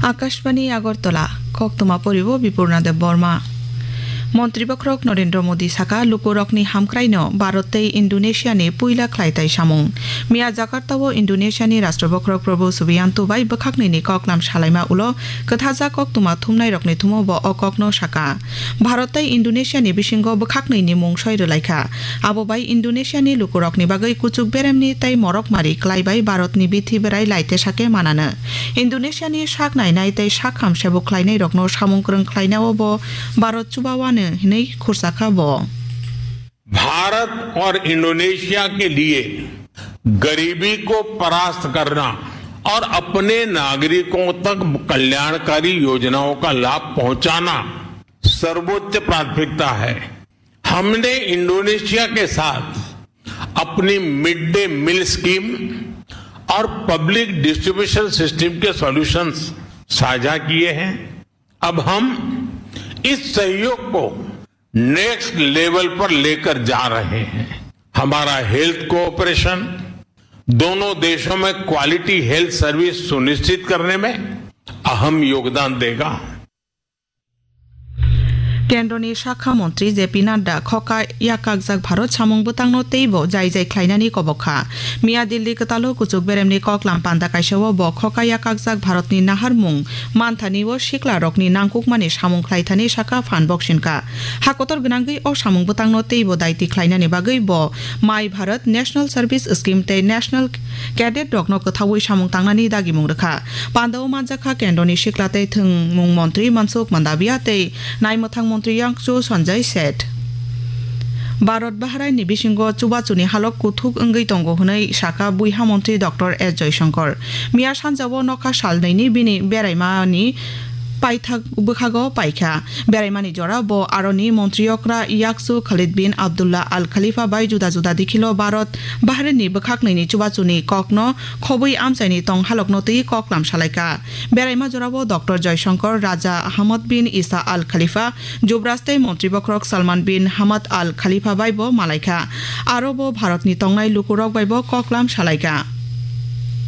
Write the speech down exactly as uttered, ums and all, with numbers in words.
Akashbani Agartala, koktwma poribo Bipurna Deb Borma. Montri bokhorok Narendra Modi saka, lukurokni hamkraino Bharat tei Indonesiani puila khlaitai samung. Miya Jakarta-o Indonesiani Rashtra bokhorok Prabowo Subianto bai bwkhaknwini koklam salaima ulo kwthajak koktwma thumnairokni thumo bo o kokno saka. Bharat tei Indonesiani bisingo bwkhaknwini mung soi rwlaikha. Abo bai Indonesiani lukurokni bagwi kuchuk beremni tei morok mari klai bai Bharatni bithi berai laite sake manano. Indonesiani sak nainai tei sak ham sebuk khlainairokno samung kwrwng khlainao bo Bharat chubawano hinwi khursakha bo. Bharat और इंडोनेशिया के लिए गरीबी को परास्त करना और अपने नागरिकों तक कल्याणकारी योजनाओं का लाभ पहुंचाना सर्वोच्च प्राथमिकता है। हमने इंडोनेशिया के साथ अपनी मिड डे मील स्कीम और पब्लिक डिस्ट्रीब्यूशन सिस्टम के सॉल्यूशंस साझा किए हैं। अब हम इस सहयोग को नेक्स्ट लेवल पर लेकर जा रहे हैं। हमारा हेल्थ कोऑपरेशन दोनों देशों में क्वालिटी हेल्थ सर्विस सुनिश्चित करने में अहम योगदान देगा। Kendroni sakha montri J P Nadda khoka yakakjak Bharat samung bwtangno teibo jai jai khlainani kobok kha. Miya Delhi kwtalo kuchuk beremni koklam panda kaisao bo khoka yakakjak Bharatni naharmung manthani o siklarokni nangkukmani samung khlaithani saka phan boksin kha. Ha kotor gwnangwi o samung bwtangno teibo daiti khlainani bagwi bo My Bharat National Service Scheme tei National Cadet rokno kwthaui samung tangnani dagimung rwkha. Pandao manjakha Kendroni sikla tei thwngmung montri Mansukh Mandaviya tei naimwthang montri Yangchu Sanjay Seth. Bharat Bahrainni bisingo chubachuni halok kuthuk wngwi tongo hwnwi sakha buiha montri Doctor S Jaishankar. Miya sanjao nokha salnwini bini beraimani paithak bwkhago paikha. Beraimani jora bo aroni montri okra Yakchu Khalid bin Abdullah Al Khalifa bai juda juda dikhilo Bharat Bahrainni bwkhaknwini chubachuni kokno khobwi amchaini tong halokno twi koklam salaikha. Beraima jorao Doctor Jaishankar, Raja Hamad bin Isa Al Khalifa, Jubraj tei Montri bokhorok Salman bin Hamad Al Khalifa bai bo malaikha. Aro bo Bharatni tongnai lukurok bai bo koklam salaikha.